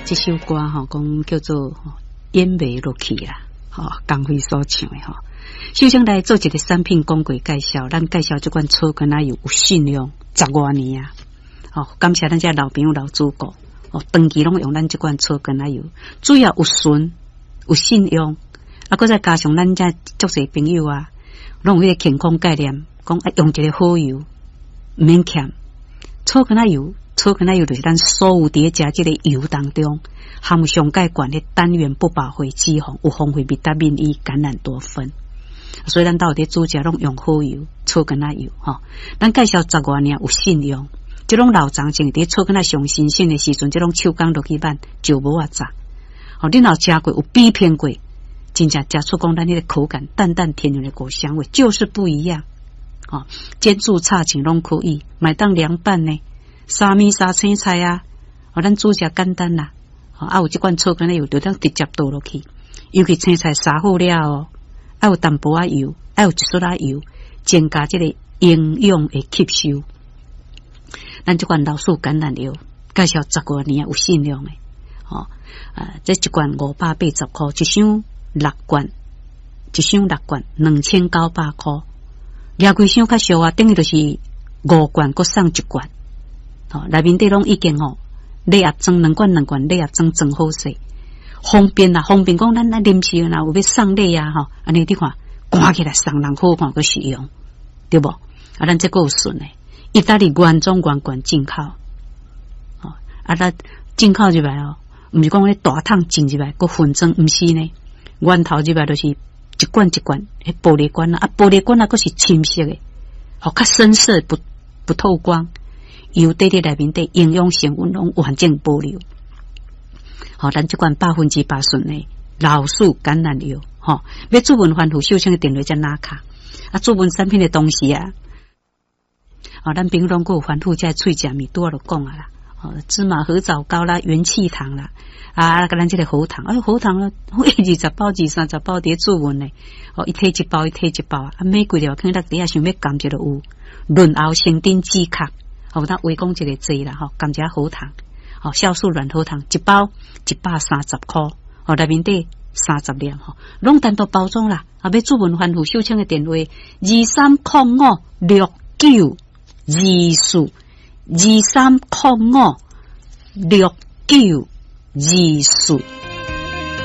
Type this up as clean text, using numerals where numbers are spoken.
這首歌吼，講叫做演袂落去啦，吼，江輝所唱的吼。首先來做一個產品廣告介紹，咱介紹這款草根仔油有信用十外年啊，吼，感謝咱這老朋友老主顧，哦，長期攏用咱這款草根仔油，主要有純有信用，啊，閣再加上咱這足濟朋友啊，攏有彼個健康概念，講啊用一個好油，毋免欠草根仔油。草根仔油就是咱所有佇咧食這個油當中，含有上蓋懸的單元不飽和脂肪，有豐富維他命 E、橄欖多酚，所以咱兜佇煮食攏用好油，草根仔油吼。咱介紹十外年有信用，這種老長前佇草根仔上新鮮的時陣，這種手工落去挽就無啊雜。吼，你若食過有比拼過，真正食出講咱彼個口感淡淡甜甜的果香味就是不一樣。吼，煎煮炒汆攏可以，會當涼拌呢。沙麵沙青菜啊，哦，咱煮食簡單啦，啊有這款草根仔油，就當直接倒落去。尤其青菜殺好了後，愛有淡薄仔油，愛有一撮仔油，增加這個營養的吸收。咱這款老樹橄欖油，介紹十外年有信用的，吼啊，這一罐580箍，一箱六罐，一箱六罐2900箍，掠幾箱較俗啊，等於就是五罐，閣送一罐。吼，內面底攏已經吼禮盒裝兩罐兩罐禮盒裝裝好勢，方便啦，方便講咱咱臨時若有欲送禮啊吼，按呢你看，掛起來送人好看閣實用，對無？啊，咱這閣有順的，意大利原裝原罐進口，吼，啊，咱進口入來哦，毋是講咧大桶進入來閣分裝，毋是呢，源頭入來就是一罐一罐，彼玻璃罐啊，啊玻璃罐啊，閣是深色的，吼，較深色不透光。油底佇內面底營養成分攏完整保留。吼，咱這款100%純的老樹橄欖油，吼，欲諮詢番戶秀清的電話才拿卡。啊，諮詢產品的東西啊，哦，咱朋友攏閣有番戶這喙食物，拄仔就講啊啦，哦，芝麻核棗糕啦，元氣糖啦，啊，佮咱這個喉糖，哎，喉糖了，20包、二三十包佇咧諮詢呢，哦，伊提一包，伊提一包啊，每幾條可能底下想欲含一個有潤喉生津止咳。吼，咱話講一個濟啦，吼，甘蔗喉糖，吼，酵素軟喉糖一包130箍，吼，內面底30粒，吼，攏單獨包裝啦。啊，欲諮詢番戶秀清的電話：23056924，23056924。